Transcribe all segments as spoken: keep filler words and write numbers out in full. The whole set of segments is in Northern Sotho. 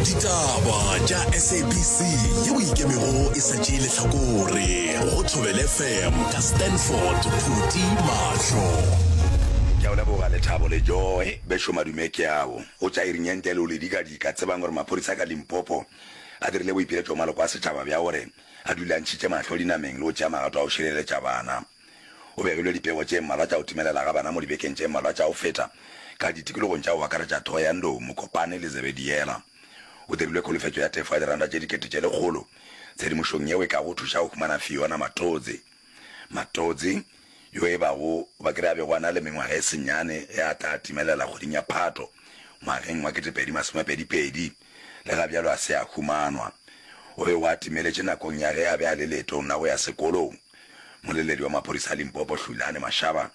Ditaba tša S A B C yeo ikemego e sa tšee lehlakore go Thobela F M ka Stanford Phuti Mahlo. Ke a o leboga Lethabo le Joy. Bešo madume ke ao. Go tša iring ye ntle le o le dikadika, tsebang gore maphodisa ka Limpopo a dirile boipiletšo go maloko a setšhaba bja gore a dule a ntšhitše mahlo dinameng le go tšea magato a go šireletša bana. Go begilwe dipego tše mmalwa tša go timelela ga bana mo dibekeng tše mmalwa tša go feta ka ditikologong tša go akaretša Thohoyandou, Mokopane le Zebediela. Go dirilwe kholofetšo ya tefo ya diranta tše dikete tše lekgolo tshedimošong yeo e kago thuša go humana Fiona Matodzi. Matodzi, yo e bago ba ke re a bego a na le mengwaga e senyane ge a tla timelela kgweding ya Phato ngwageng wa ketepedi masomepedi pedi, le ga bjalo a se a humanwa. O be o a timeletše nakong ya ge a be a le leetong la go ya sekolong. Moleledi wa maphodisa a Limpopo Hlulani Mashaba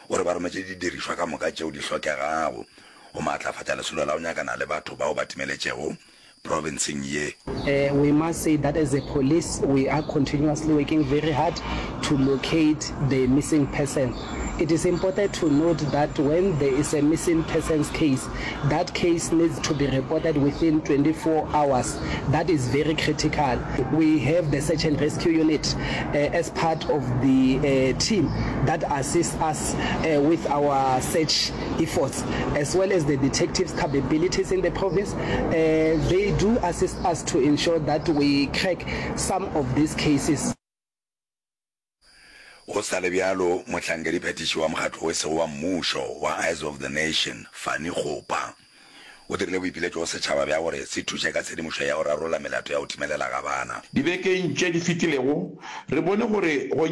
o re ba rometše didirišwa ka moka tšeo di hlokegago go maatlafatša lesolo la go nyakana le batho bao ba timeletšego profenseng ye. Uh, we must say that as a police, we are continuously working very hard to locate the missing person. It is important to note that when there is a missing persons case, that case needs to be reported within twenty-four hours. That is very critical. We have the search and rescue unit uh, as part of the uh, team that assists us uh, with our search efforts, as well as the detectives' capabilities in the province. Uh, they do assist us to ensure that we crack some of these cases. Go sa le bjalo, mohlankediphethiši wa mokgatlo o sego wa mmušo wa Eyes of the Nation, Fanny Kgopa, o dirile boipiletšo go setšhaba bja gore se thuše ka tshedimošo ya go rarolla melato ya go timelela ga bana. Dibekeng tše di fetilego, re bone gore go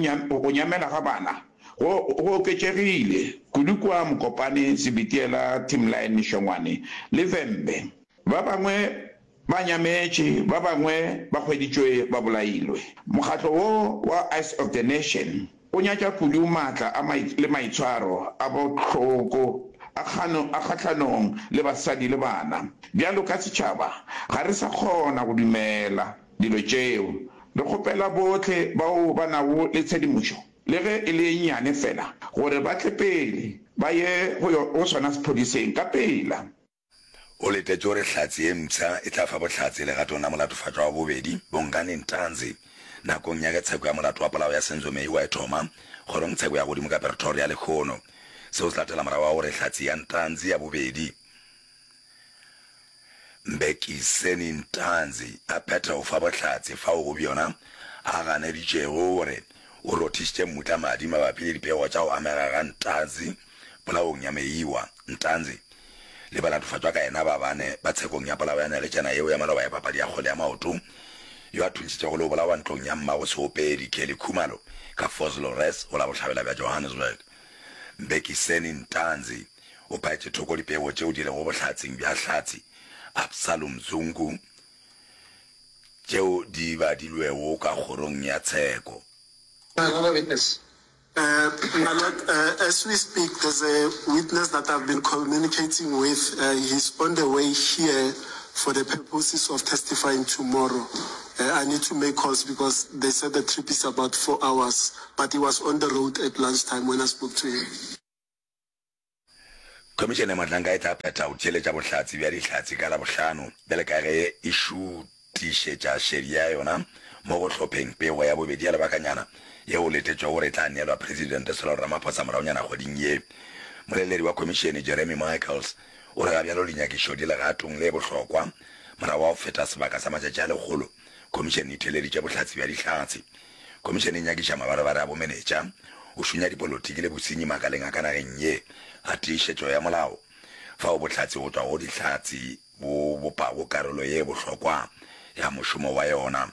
nyamela ga bana go go oketšegile, kudu kua Mokopane, Zebediela, Timline, Shongwane le Vhembe. Ba bangwe ba nyametše, ba bangwe ba hweditšwe ba bolailwe. Mokgatlo wo wa Eyes of the Nation o nyatša kudu maatla a le maitshwaro a bohloko a kgahlanong le basadi le bana. Bjalo ka setšhaba, ga re sa kgona go dumela dilo tšeo. Re kgopela bohle bao ba nago le tshedimošo, le ge e le ye nnyane fela, gore ba tle pele ba ye go sona sephodiseng ka pela. O letetše gore hlatse ye mpsha e tla fa bohlatse legatong la molatofatšwa wa bobedi, Bongani Ntanzi, nakong ya ge tsheko ya molato wa polao ya Senzo Meyiwa e thoma kgorongtsheko ya godimo ka Pretoria lehono. Seo se latela morago ga gore hlatse ya Ntanzi ya bobedi, Mbhekiseni Ntanzi, a phethe go fa bohlatse fao go bjona a ganeditšego gore o rothišitše mmutla madi mabapi le dipego tša go amega ga Ntanzi polaong ya Meyiwa. Ntanzi le balatofatšwa ka yena ba bane ba tshekong ya polao ya neletšana yeo ya maloba ya papadi ya kgwele ya maoto yo a thuntšitšego le go bolawa ntlong ya mmago seopedi Kelly Khumalo ka Vosloorus go la bohlabela bja Johannesburg. Mbhekiseni Ntanzi o phaetše thoko dipego tšeo di lego bohlatseng bja hlatse Absalom Zungu tšeo di badilwego ka kgorong ya tsheko. Another witness. Uh, my lord, uh, as we speak, there's a witness that I've been communicating with. Uh, he's on the way here for the purposes of testifying tomorrow. Uh, I need to make calls because they said the trip is about four hours, but he was on the road at lunchtime when I spoke to him. Khomišene ya Mohlanka e tla phetha go theeletša bohlatse bja dihlatse ka Labohlano bjale ka ge e šutišetša šedi ya yona mo go hlopheng pego ya bobedi ya lebakanyana yeo go letetšwego gore e tla neelwa Presidente Cyril Ramaphosa moragonyana kgweding ye. Moleledi wa khomišene Jeremy Michaels o re gabjalo dinyakišo di legatong le bohlokwa morago ga go feta sebaka sa matšatši a lekgolo khomišene e theeleditše bohlatse bja dihlatse. Khomišene e nyakiša mabarebare a bomenetša, go šunya dipolotiki le bosenyi makaleng a ka nageng ye a tiišetšo ya molao, fao bohlatse go tšwa go dihlatse bo bopago karolo ye bohlokwa ya mošomo wa yona.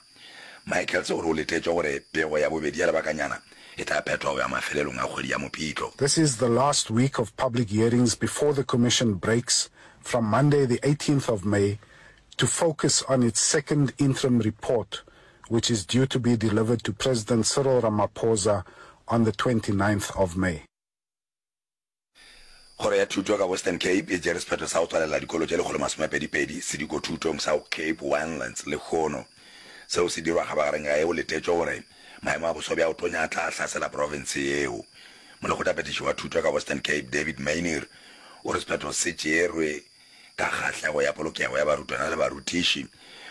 Michaels o re o letetšwe gore pego ya bobedi ya lebakanyana e tla phethwa go ya mafelelong a kgwedi ya Mopitlo. This is the last week of public hearings before the commission breaks from Monday the eighteenth of May to focus on its second interim report, which is due to be delivered to President Cyril Ramaphosa on the twenty-ninth of May. Kgoro ya Thuto ka Western Cape e tšere sephetho sa go tswalela dikolo tše lekgolo masomepedi-pedi sedikothutong sa Cape Winelands lehono. Seo se dirwa kgabagareng ga ge go letetšwe gore maemo a boso bja go tonya a tla hlasela profense yeo. Molekgotlaphethiši wa thuto ka Western Cape David Maynier o re sephetho se tšerwe ka kgahlego ya polokego ya barutwana le barutiši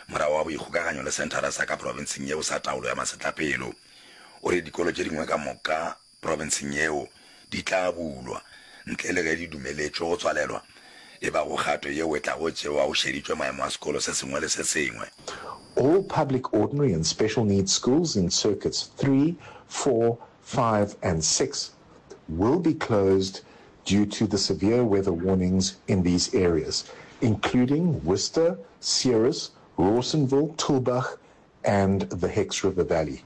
morago ga boikgokaganyo le senthara sa ka profenseng yeo sa taolo ya masetlapelo. O re dikolo tše dingwe ka moka profenseng yeo di tla bulwa ntle le ge di dumeletšwe go tswalelwa, e bago kgato yeo e tlago tšewa go šeditšwe maemo a sekolo se sengwe le se sengwe. All public ordinary and special needs schools in circuits three, four, five and six will be closed due to the severe weather warnings in these areas, including Worcester, Ceres, Rawsonville, Tulbagh and the Hex River Valley.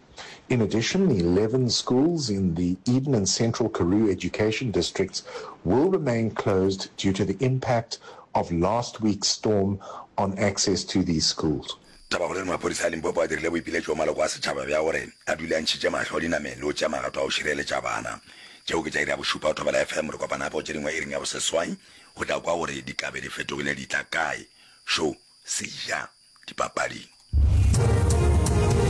In addition, eleven schools in the Eden and Central Karoo education districts will remain closed due to the impact of last week's storm on access to these schools. Tabakgolo e re maphodisa a Limpopo a dirile boipiletšo go maloko a setšhaba bja gore a dule a ntšhitše mahlo dinameng le go tšea magato a go šireletša bana. Tšeo ke tša iri ya bošupa go Thobela F M. Re kopana gape go tše dingwe iring ya boseswai go tla kwa gore di ka be di fetogile di tla kae. Šo se ja dipapading.